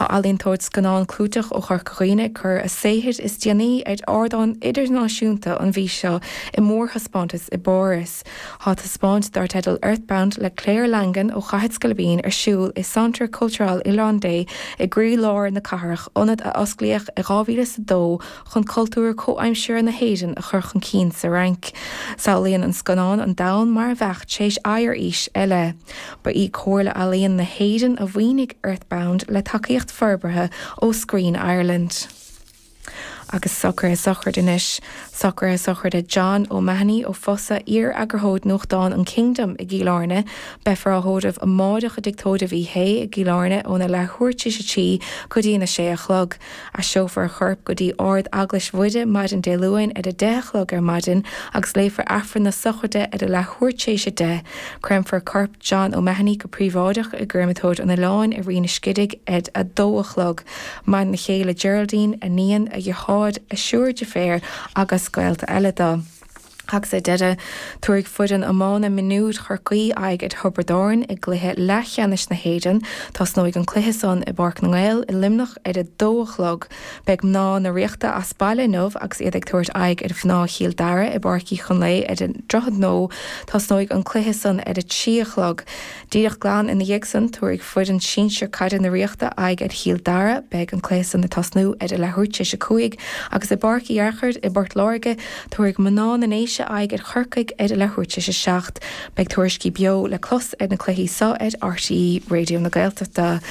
Tá ealaíontóir scannán clúiteach ó Chorca Dhuibhne ag cur a saothair is déanaí ar ardán idirnáisiúnta an mhí seo i mórthaispeántas i bPáras. Tá taispeáint dar teideal Earthbound le Claire Langan ó Chathair Scoilbín ar siúl i Centre Culturel Irlandais i gcroí-lár na cathrach, ionad a osclaíodh i 2002 chun cultúr comhaimseartha na hÉireann a chur chun cinn sa Fhrainc. Samhlaíonn an scannán an domhan mar a bheadh tar éis oighearaois eile. Ba í Comhairle Ealaíon na hÉireann a mhaoinigh Earthbound le tacaíocht forbartha ó Screen Ireland. Agus socruithe sochraide anois. Socruithe sochraide John O'Mahony ó Fosa, iar-eagarthóir nuachtáin an Kingdom i gCill Airne. Beifear á thórramh amáireach i dTigh Tórraimh Uí Shé i gCill Airne óna leathuair tar éis a 3 go dtí na 6 a chlog. Aistreofar a chorp go dtí Ard Eaglais Mhuire maidin Dé Luain ar a 10 a chlog ar maidin agus léifear Aifreann na sochraide ar a leathuair tar éis a 10. Créamfar corp John O'Mahony go príobháideach i gcréamatóir an Oileáin i Rinn an Scidigh ar a 2 a chlog. Maireann a chéile Geraldine, a níon, a dheartháir, a thriúr deirféar agus gaolta eile dó. Agus ar deireadh, tabharfaidh foireann iomána mionúir Chorcaí aghaidh ar Thiobraid Árann i gcluiche leathcheannais na hÉireann. Tosnóidh an cluiche san i bPáirc na nGael i Luimneach ar a dó a chlog. Beidh mná na Ríochta as baile inniu agus iad ag tabhairt aghaidh ar mhná Chill Dara i bPáirc Uí Chonlae ar an Droichead Nua. Tosnóidh an cluiche san ar a 3 a chlog. Díreach glan ina dhiaidh san, tabharfaidh foireann sinsir caide na Ríochta aghaidh ar Chill Dara. Beidh an cluiche san ag tosnú ar a leathuair tar éis a 5 agus i bPáirc Uí Fhearchair i bPort Láirge, tabharfaidh mná na nDéise aghaidh ar Chorcaigh ar a leathuair tar éis a 7. Beidh tuairiscí beo le clos ar na cluichí so ar RTÉ Raidió na Gaeltachta.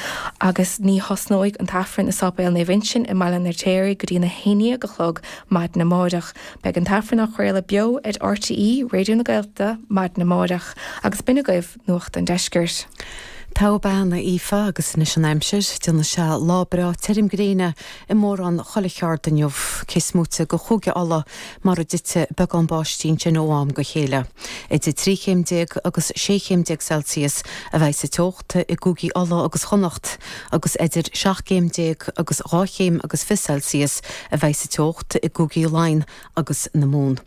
Agus ní thosnóidh an tAifreann i Sáipéal Naomh Uinseann i mBaile an Fheirtéaraigh go dtí na haon dhéag a chlog maidin amáireach. Beidh an tAifreann á chraoladh beo ar RTÉ Raidió na Gaeltachta maidin amáireach agus b'in agaibh Nuacht an Deiscirt. Togha bean, a Aoife, agus anois an aimsir. Déanfaidh sé lá breá tirim gréine i mórán chuile cheard inniu, cé is móite de Chúige Uladh mar a dtitfidh beagán báistí ansin ó am go chéile. Idir 13 chéim agus 16 chéim Celsius a bheidh sa teocht i gcúigí Uladh agus Chonnacht agus idir 17 chéim agus 2 chéim agus 20 Celsius a bheidh sa teocht i gcúigí Laighean agus na Mumhan.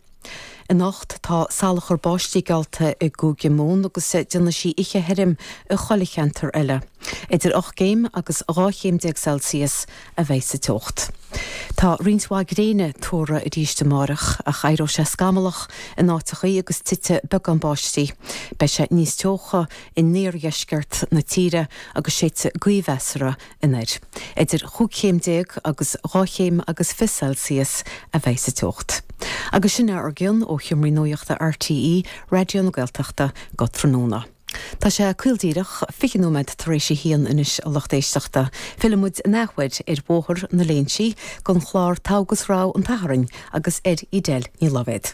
Anocht tá salachar báistí geallta i gCúige Mumhan agus déanfaidh sí oíche thirim i chuile cheantar eile. Idir 8 gcéim agus 12 chéim Celsius a bheidh sa teocht. Tá roinnt mhaith gréine tuartha arís amáireach ach éireoidh sé scamallach in áiteachaí agus titfidh beagán báistí. Beidh sé níos teocha in iardheisceart na tíre agus séidfidh gaoth mheasartha anoir. Idir chúig chéim déag agus dhá chéim agus 20 Celsius a bheidh sa teocht. Agus sin é ár gcion ó Sheomraí Nuachta RTÉ Raidió na Gaeltachta go tráthnóna. Tá sé caol díreach 20 nóiméad tar éis a haon anois a lucht éisteachta. Fillfidh muid an athuair ar Bhóthar na Léinsí don chlár Togha agus Rogha an tSathairn agus ar Edel Ní Loibhéad.